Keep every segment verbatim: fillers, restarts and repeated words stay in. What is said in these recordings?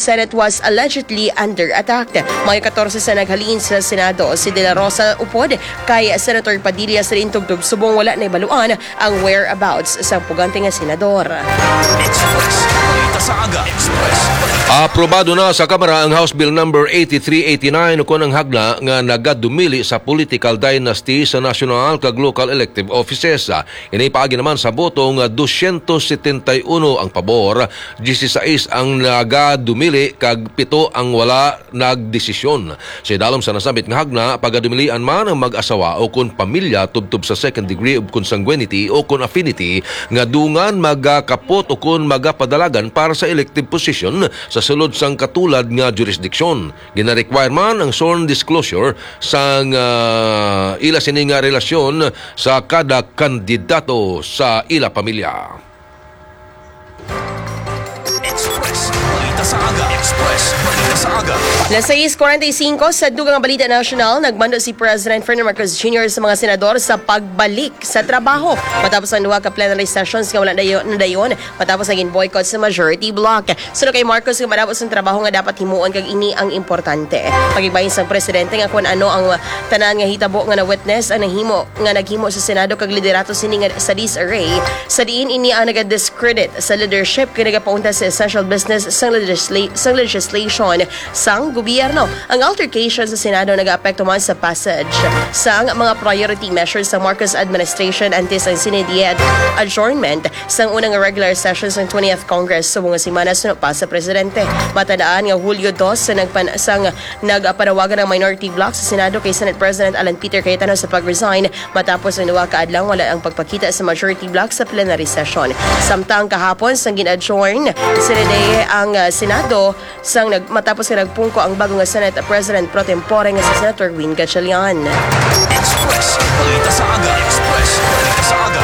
Senate was allegedly under attack. Mayo katorse sa naghalin sa Senado, si De La Rosa upod kay Senator Padilla sa diin tubtob subong wala na ibaluan ang whereabouts sa pugante nga senador. Express. Balita sa aga. Express. Aprobado na sa Kamara ang House Bill Number eighty-three eighty-nine, ukon ang hagna nga nagadumili sa political dynasty sa national kag local elective offices. Ini paagi naman sa boto nga dosyentos setenta y uno ang pabor, dieciséis ang nagadumili, kag pito ang wala nagdesisyon. Sa idalom sa nasambit nga hagna, pagadumilian man ang mag-asawa o kon pamilya tubtob sa second degree of consanguinity o kon affinity nga dungan magakapot o kon magapadalagan para sa elective position sa sulod sang katulad nga jurisdiction. Gina-require man ang sworn disclosure sang, ah, ila sini nga relasyon sa kada kandidato sa ila pamilya. Express. Balita sa aga. Express. Balita sa aga. Las sais cuarenta y cinco, sa dugang nga balita nasyonal, nagmando si President Ferdinand Marcos Junior sa mga senador sa pagbalik sa trabaho matapos ang duha ka plenary sessions nga wala dayon, nadayon matapos ang gin-boycott sa majority bloc. Suno kay Marcos, nga madamo sang trabaho nga dapat himuon kag ini ang importante. Pagigbahin sang presidente nga kun ano ang tanan nga hitabo nga na-witness ang nahimo nga naghimo sa Senado kag liderato sini nga sa disarray, sa diin ini ang naga-discredit sa leadership kag nagapauntat sa essential business sang legisla-, sang legislation sang gobyerno. Ang altercation sa Senado nagaapekto man sa passage sang mga priority measures sa Marcos administration antes ang Senate adjournment sang unang regular session sang twentieth Congress subong nga semana suno pa sa presidente. Matandaan nga Hulyo dos sa nagpan-, sang nagpanawagan ang minority bloc sa Senado kay Senate President Alan Peter Cayetano sa pag-resign matapos ang duha ka adlaw wala ang pagpakita sa majority bloc sa plenary session. Samtang kahapon sang gin-adjourn sila ang, ah, Senado, sang nag-, matapos nga nagpungko ang bago nga Senate President pro tempore nga si Senator Win Gatchalian. Express. Balita sa aga. Express. Balita sa aga.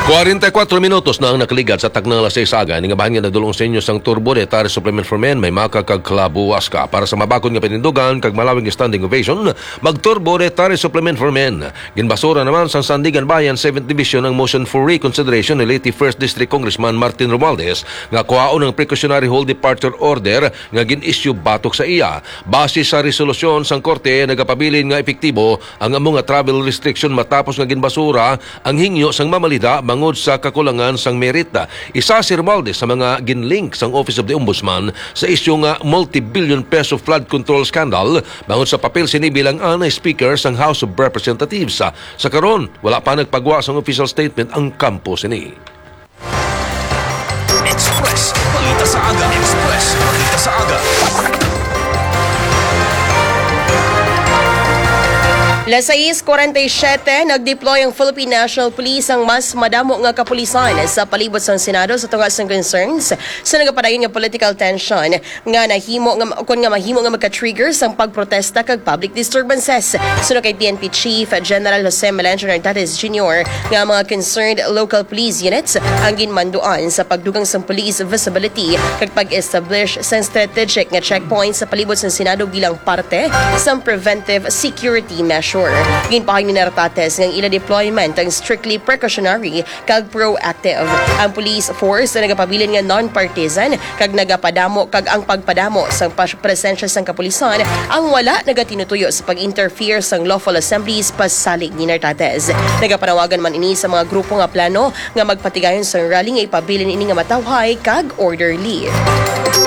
Kwarenta y kuatro minutos na ang nakaligad sa taknang alas sais sa aga. Ini nga bahin nga nadulong sa inyo sang Turbo Retire Supplement for Men, may maka kag kalabuwas ka. Para sa mabakod nga panindugan kag malawig nga standing ovation, mag-Turbo Retire Supplement for Men. Ginbasura naman sang Sandiganbayan Seventh Division ang motion for reconsideration ni late First District Congressman Martin Romualdez nga kuhaon ang precautionary hold departure order nga gin-issue batok sa iya. Base sa resolusyon sang korte, nagapabilin nga epektibo ang amo nga travel restriction matapos nga ginbasura ang hingyo sang mamalida bangod sa kakulangan sang merit. Isa si Romualdez sa mga ginlink sang Office of the Ombudsman sa isyu nga multi-billion peso flood control scandal bangod sa papel sini bilang anay speaker sang House of Representatives. Sa karon, wala pa nagpagwa sang official statement ang kampo sini. Express. Balita sa aga. Express. Balita sa aga. Las sais cuarenta y siete, nag-deploy ang Philippine National Police, ang mas madamo nga kapulisan, sa palibot sang Senado sa tunga sang concerns sa nagapadayon nga political tension nga nahimo nga, kon nga mahimo nga magka-trigger sang pagprotesta kag public disturbances. Suno kay P N P Chief General Jose Melencio Nartates Junior nga mga concerned local police units ang ginmanduan sa pagdugang sang police visibility kag pag-establish sang strategic nga checkpoints sa palibot sang Senado bilang parte sang preventive security measure. Ginpahayag ni Nartates nga ang ila deployment ang strictly precautionary kag proactive. Ang police force nagapabilin nga non-partisan kag nagapadamo, kag ang pagpadamo sang pas-, presensya sang kapulisan ang wala nagatinutuyo sa pag-interfere sang lawful assemblies, pasalig ni Nartates. Nagapanawagan man ini sa mga grupo nga plano nga magpatigayon sang rally nga ipabilin ini nga matawhay kag orderly.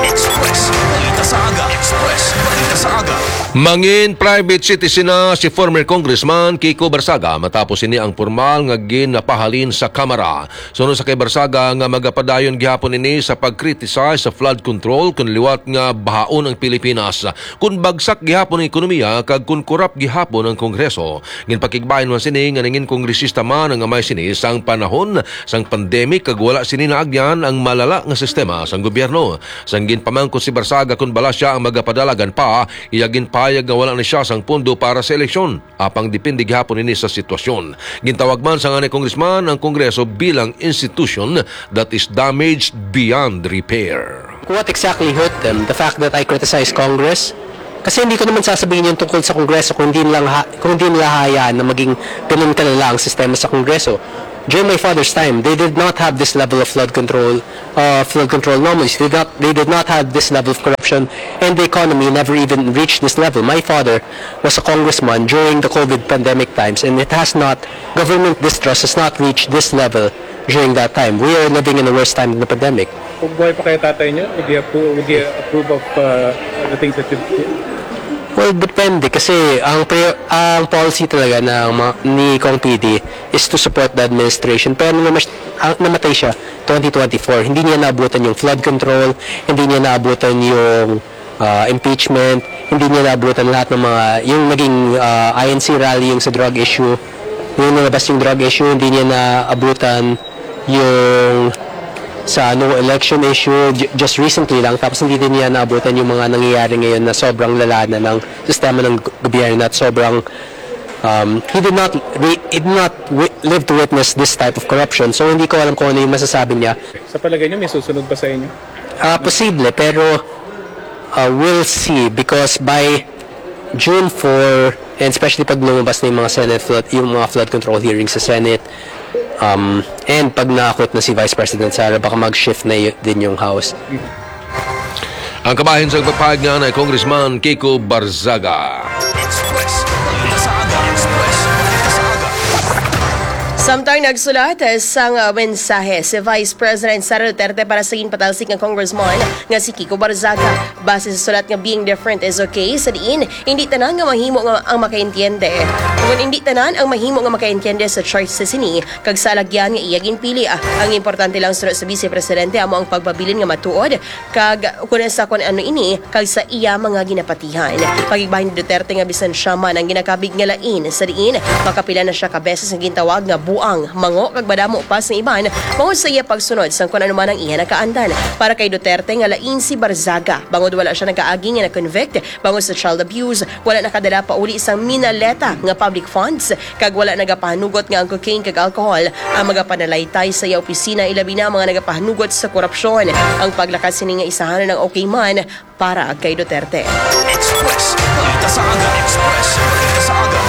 Express. Balita sa aga. Express. Balita sa aga. Mangin private citizen na si former Congressman Kiko Barsaga matapos ini ang pormal nga ginapahalin sa Kamara. Suno sa kay Barsaga nga magapadayon gihapon ini sa pag-criticize sa flood control kun liwat nga bahaon ang Pilipinas, kun bagsak gihapon ang ekonomiya kag kun korap gihapon ang Kongreso. Ginpakigbahin man sini nga nangin kongresista man ang amay sini sang panahon sang pandemic kag wala sini naagyan ang malala nga sistema sang gobyerno. Sang ginpamangkot si Barsaga kun bala sia ang magapadalagan pa, iya ginpahayag nga wala na sia sang pondo para sa eleksyon. Apang depende gihapon ini sa sitwasyon. Gintawag man sang anay congressman ang Kongreso bilang institution that is damaged beyond repair. What exactly hurt them? The fact that I criticize Congress? Kasi hindi ko naman sasabihin yung tungkol sa Kongreso kung hindi nila, ha- kung hindi nila hayaan na maging ganun kalala ang sistema sa Kongreso. During my father's time, they did not have this level of flood control, uh, flood control anomalies. They did not, they did not have this level of corruption, and the economy never even reached this level. My father was a congressman during the COVID pandemic times, and it has not, government distrust has not reached this level during that time. We are living in a worse time than the pandemic. Kung buhay pa kaya tatay niyo, would you approve, would you approve of uh, the things that you do? Well, depende kasi ang pre- ang policy talaga ng mga, ni Kong P D is to support the administration. Pero namas- ang, namatay siya twenty twenty-four. Hindi niya naabutan yung flood control, hindi niya naabutan yung uh, impeachment, hindi niya naabutan lahat ng mga, yung naging uh, I N C rally, yung sa drug issue, yung nilabas yung drug issue, hindi niya naabutan yung sa ano, election issue. J- just recently lang, tapos hindi din niya naabutan yung mga nangyayari ngayon na sobrang lala na ng sistema ng g- gobyerno at sobrang um, he did not re- he did not wi- live to witness this type of corruption, so hindi ko alam kung ano yung masasabi niya. Sa palagay niyo, may susunod ba sa inyo? Ah, posible, pero uh, we'll see because by June four, and especially pag lumabas na yung mga Senate flood, yung mga flood control hearings sa Senate, um, and pag naakot na si Vice President Sara, baka mag-shift na y- din yung House. Ang kabahin sa pagpahayag nga ni Congressman Kiko Barzaga. Express. Balita sa aga. Express. Balita sa aga. Samtang nagsulat sang uh, mensahe si Vice President Sara Duterte para sa ginpatalsik nga congressman nga si Kiko Barzaga. Base sa sulat nga being different is okay, sa diin hindi tanan nga mahimo nga ang makaintiende. Kung hindi tanan ang mahimo nga makaintiende sa choice sa sini, kag sa alagyan nga iya ginpili. Ang importante lang suno sa Vice Presidente amo ang pagpabilin nga matuod kag kun sa kun ano ini kag sa iya mga ginapatihan. Pakigbahin ni Duterte nga bisan siya man ang ginakabig nga lain sa diin makapila na siya ka beses nga gintawag nga buang, mango kag madamo pa sa iban bangod sa iya pagsunod sang kun ano man ang iya nakaandan. Para kay Duterte nga lain si Barzaga bangod wala siya nagaagi nga na-convict bangod sa child abuse, wala nakadala pauli sang minaleta nga public funds kag wala nagapahanugot nga ang cocaine kag alcohol ang magapanalaytay sa iya opisina, ilabi na mga nagapahanugot sa korupsyon. Ang paglakat sini nga isahanan ang okay man para kay Duterte. Express. Balita sa aga. Express. Balita sa aga.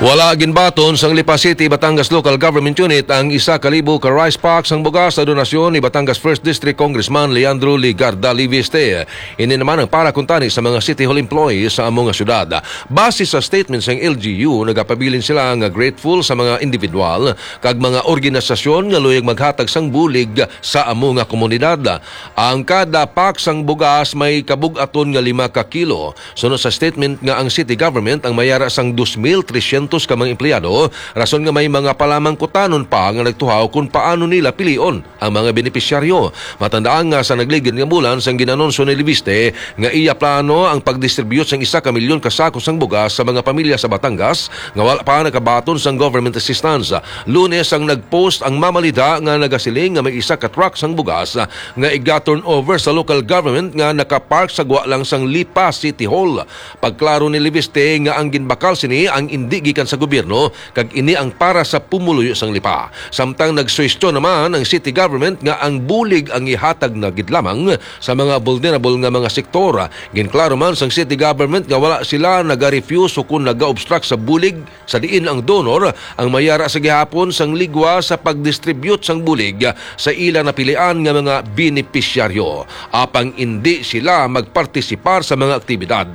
Wala ginbaton sang Lipa City, Batangas Local Government Unit ang isa ka libo ka rice pack sang bugas sa donasyon ni Batangas First District Congressman Leandro Legarda Leviste. Ini naman ang para kuntani sa mga City Hall employees sa amo nga syudad. Base sa statement sang L G U, nagapabilin sila nga grateful sa mga individual kag mga organisasyon nga luyag maghatag sang bulig sa amo nga komunidad. Ang kada pack sang bugas may kabug-aton nga lima ka kilo. Suno sa statement nga ang city government ang mayara sang dos mil tresyentos ka mga empleyado, rason nga may mga palamangkutanon pa nga nagtuhaw kon paano nila pilion ang mga benepisyaryo. Matandaan nga sa nagligid nga bulan sang ginanunsyo ni Leviste nga iya plano ang pagdistribute sang isa ka milyon ka sako sang bugas sa mga pamilya sa Batangas nga wala pa nakabaton sang government assistance. Lunes ang nag-post ang Mamalida nga nagasiling nga may isa ka truck sang bugas nga iga-turnover sa local government nga nakapark sa gwa lang sang Lipa City Hall. Pagklaro ni Leviste nga ang ginbakal sini ang indi gikan sa gobyerno kag ini ang para sa pumuluyo sang Lipa. Samtang nagsuwestyon naman ang city government nga ang bulig ang ihatag na gid lamang sa mga vulnerable nga mga sektor. Ginklaro man sang city government nga wala sila naga-refuse ukon naga-obstruct sa bulig sa diin ang donor ang mayara sa gihapon sang ligwa sa pag-distribute sang bulig sa ila napilian nga mga benepisyaryo, apang indi sila magpartisipar sa mga aktibidad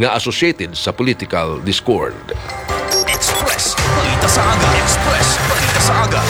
nga associated sa political discord. Express. Balita sa aga. Express. Balita sa aga.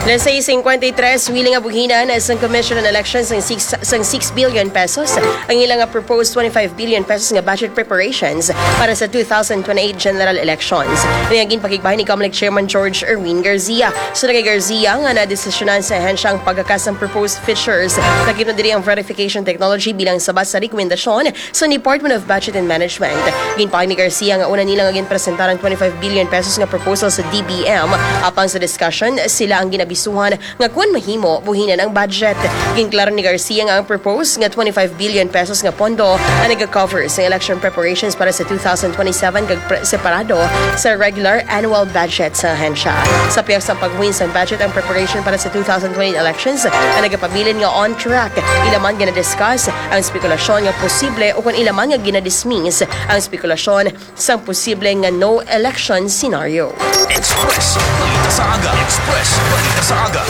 Alas sais singkwenta y tres, wili nga buhinan sang Commission on Elections sang six, sang six billion pesos ang ilang nga proposed twenty-five billion pesos nga budget preparations para sa two thousand twenty-eight general elections. Ini ang ginpakigbahin ni Comelec Chairman George Erwin Garcia. Suno kay Garcia nga nadesisyonan sa ahensya ang pagkakas sang proposed features. Nakita diri ang verification technology bilang sabat sa rekomendasyon sa Department of Budget and Management. Ginpahayag ni Garcia nga una nila nga ginpresentar ang twenty-five billion pesos nga proposal sa D B M. Apang sa discussion, sila ang ginab- bisuhan nga kon mahimo, buhinan ang budget. Ginklaro ni Garcia nga ang proposed nga twenty-five billion pesos nga pondo ang nag-cover sa election preparations para sa two thousand twenty-seven kag pre- separado sa regular annual budget sa ahensya. Sa pihak sang pagbuhin sang budget ang preparation para sa two thousand twenty elections ang nagapabilin nga on track. Ila man gina-discuss ang spekulasyon nga posible o kon ila man nga gina-dismiss ang spekulasyon sang posible nga no election scenario. Express Balita sa Aga. Express Balita sa Aga.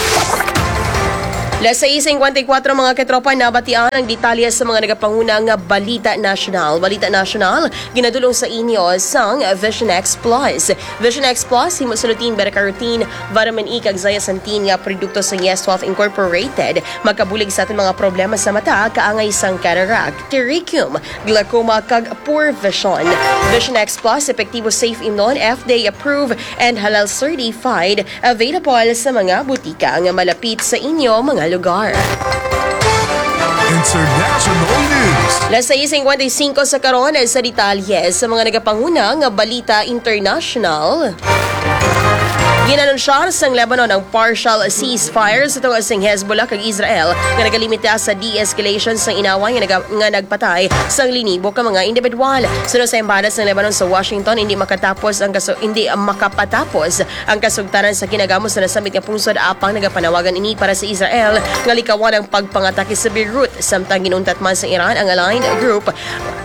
Las sais cincuenta y cuatro, mga katropa, nabatian ang detalye sa mga nagapanguna nga balita nasyonal. Balita nasyonal, ginadulong sa inyo sang Vision X Plus. Vision X Plus, himo sa lutein, beta-carotene, vitamin E, kag zeaxanthin nga produkto sa Yes Health Incorporated. Makabulig sa aton mga problema sa mata, kaangay sang cataract, pterygmium, glaucoma, kag poor vision. Vision X Plus, epektibo, safe imnon, F D A approved, and halal certified. Available sa mga butika nga malapit sa inyo mga lugar. International News. Las sais cincuenta y cinco sa karon sa detalye sa mga nagapanguna nga balita international. Ginanunsyar sang Lebanon ang partial ceasefire sa tunga sing Hezbollah kag Israel nga nagalimita sa de-escalation sang inaway nga naga-, nga nagpatay sang linibo ka mga individual. Suno sa embahada sang Lebanon sa Washington, hindi makatapos ang kaso-, hindi makapatapos ang kasugtanan sa kinagamo sa nasambit nga pungsod, apang nagapanawagan ini para sa Israel nga likawan ang pagpangatake sa Beirut, samtang ginuntat man sa Iran ang aligned group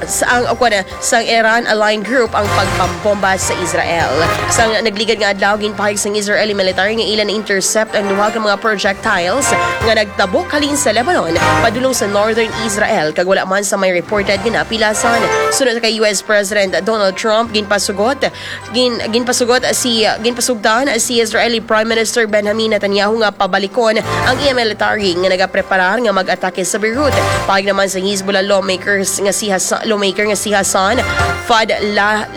sa ang, o kuwan, sang Iran aligned group ang pagpambomba sa Israel. Sang nagligad nga adlaw, ginpahayag sang Israeli military nga ila na-intercept ang duha ka mga projectiles nga nagtabok halin sa Lebanon padulong sa northern Israel, kag wala man sa may reported nga napilasan. Sunod kay U S President Donald Trump, ginpasugot, gin, ginpasugot si, ginpasugtan si Israeli Prime Minister Benjamin Netanyahu nga pabalikon ang iya military nga nagapreparar nga mag-atake sa Beirut. Pahayag naman sa Hezbollah lawmakers nga si Hassan, lawmaker nga si Hassan Fadlallah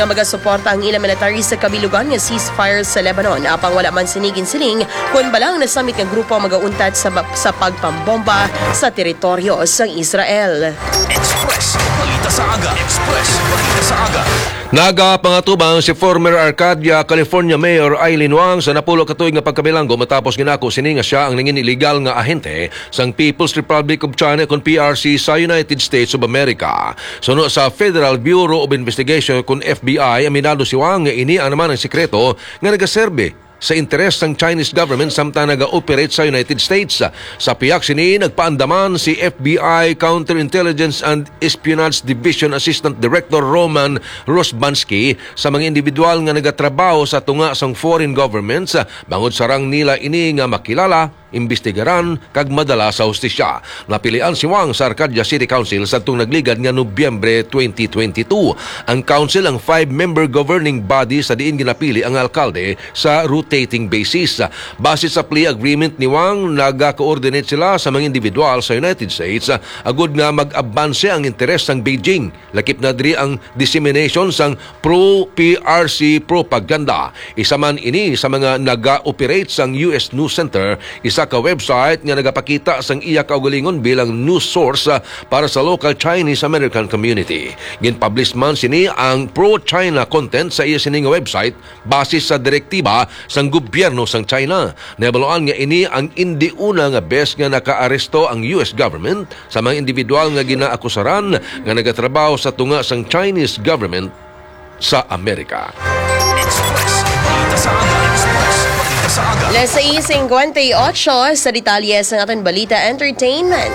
nga magasuporta ang ila military sa kabilugan nga ceasefire sa Lebanon. Apang wala man sini ginsiling kon bala ang nasambit nga grupo ang magauntat sa ba-, sa pagpambomba sa teritoryo sang Israel. Express Balita sa Aga. Express Balita sa Aga. Nagapangatubang si former Arcadia, California Mayor Aileen Wang sa napulo ka tuig nga pagkabilanggo matapos ginako sini nga sia ang nangin illegal nga ahente sang People's Republic of China, kon P R C, sa United States of America. Suno sa Federal Bureau of Investigation, kon F B I, aminado si Wang nga ini ang naman ang sikreto nga nagaserbi sa interes sang Chinese government samtang naga-operate sa United States. Sa pihak sini, nagpaandaman si F B I Counterintelligence and Espionage Division Assistant Director Roman Rozbansky sa mga individual nga nagatrabaho sa tunga sang foreign governments, bangod sarang nila ini nga makilala, imbestigaran, kag madala sa hustisya. Napilian si Wang sa Arcadia City Council sadtong nagligad nga Nobyembre twenty twenty-two. Ang council ang five-member governing body sa diin ginapili ang alkalde sa rotating basis. Base sa plea agreement ni Wang, naga-coordinate sila sa mga individual sa United States agud nga mag-abanse ang interes sang Beijing. Lakip na diri ang dissemination sang pro-P R C propaganda. Isa man ini sa mga naga-operate sang U S News Center, isa ka website nga nagapakita sang iya kaugalingon bilang news source, ah, para sa local Chinese-American community. Ginpublish man sini ang pro-China content sa iya sini nga website base sa direktiba sang gobyerno sang China. Nahibaluan nga ini ang indi una nga bes nga nakaaresto ang U S government sa mga individual nga ginaakusaran nga nagatrabaho sa tunga sang Chinese government sa Amerika. Express Balita sa Aga. Express Balita sa Aga. Las sais cincuenta y ocho sa detalye sa aton balita, entertainment.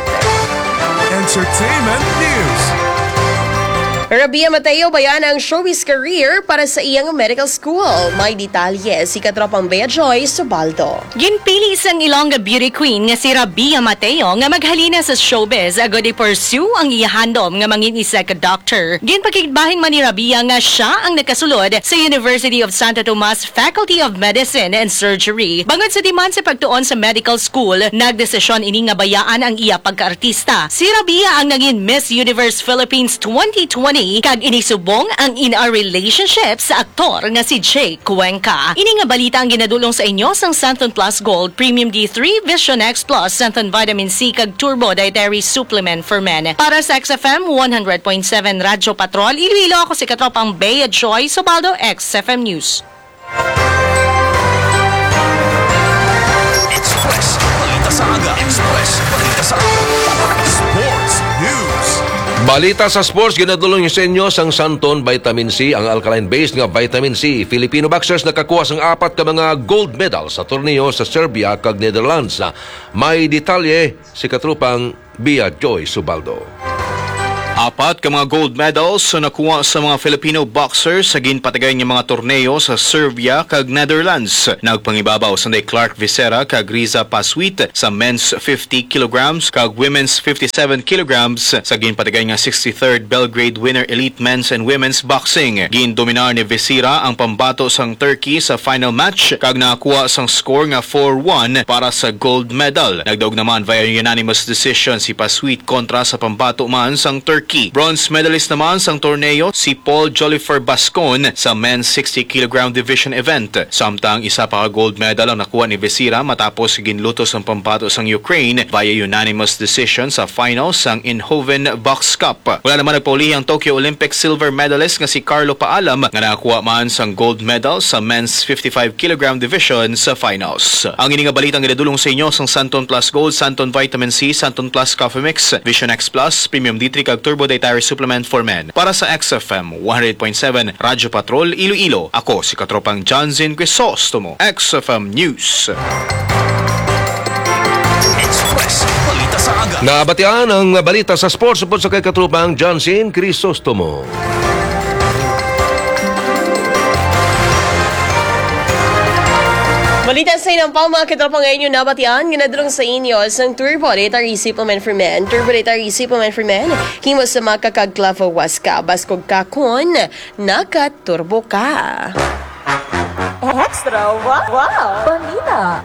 Entertainment News. Rabia Mateo, bayaan ang showbiz career para sa iyang medical school. May detalye si katropang Bea Joy Subaldo. Ginpili sang Ilongga beauty queen nga si Rabia Mateo nga maghalina sa showbiz agud i-pursue ang iya handom nga mangin isa ka doctor. Ginpakigbahin man ni Rabia nga sia ang nakasulod sa University of Santo Tomas Faculty of Medicine and Surgery. Bangod sa demand sa pagtuon sa medical school, nagdesisyon ini nga bayaan ang iya pagkaartista. Si Rabia ang nangin Miss Universe Philippines twenty twenty kag ini subong ang in a relationship sa aktor nga si Jake Cuenca. Ini nga balita ang ginadulong sa inyo sang Santon Plus Gold, Premium D three, Vision X Plus, Santon Vitamin C, kag Turbo Dietary Supplement for Men. Para sa X F M one hundred point seven Radyo Patrol, Iloilo, ako si Katropang Bea Joy Subaldo, X F M News. Balita sa sports, ginadulong sa inyo sang Santon Vitamin C, ang alkaline-based nga vitamin C. Filipino boxers nakakuha sang apat ka mga gold medal sa torneo sa Serbia kag Netherlands. May detalye si katropang Bia Joy Subaldo. Apat ka mga gold medals ang nakuha sa mga Filipino boxers sa ginpatigayon nga mga torneo sa Serbia kag Netherlands. Nagpangibabaw sanday Clark Visera kag Riza Pasuit sa men's fifty kilograms kag women's fifty-seven kilograms sa ginpatigayon nga sixty-third Belgrade Winter Elite Men's and Women's Boxing. Gindominar ni Visera ang pambato sang Turkey sa final match kag nakakuha sang score nga four one para sa gold medal. Nagdaog naman via unanimous decision si Pasuit kontra sa pambato man sang Turkey. Bronze medalist naman sang torneo si Paul Jolifer Bascon sa men's sixty kilogram division event. Samtang isa pa ka gold medal ang nakuha ni Visera matapos ginlutos ang pambato sang Ukraine via unanimous decision sa finals sang Eindhoven Box Cup. Wala naman nagpaulihi ang Tokyo Olympic silver medalist nga si Carlo Paalam nga nakakuha man sang gold medal sa men's fifty-five kilogram division sa finals. Ang ini nga balita ang ginadulong sa inyo sang Santon Plus Gold, Santon Vitamin C, Santon Plus Coffee Mix, Vision X Plus, Premium D three kag Turbo Dietary Supplement for Men. Para sa X F M one hundred point seven Radyo Patrol Iloilo, ako si Katropang Johnson Crisostomo, X F M News. Express, balita sa aga. Nabatian ang balita sa sports upod sa kay Katropang Johnson Crisostomo. Balita sa inang pa, mga katropang, nga inyo nabatian, ginadulong sa inyo sang Turbo Dietary Supplement for Men. Turbo Dietary Supplement for Men, himo sa maca kag clavo huasca, baskog ka kon nakaturbo ka. Extra wa-, wow! Balita.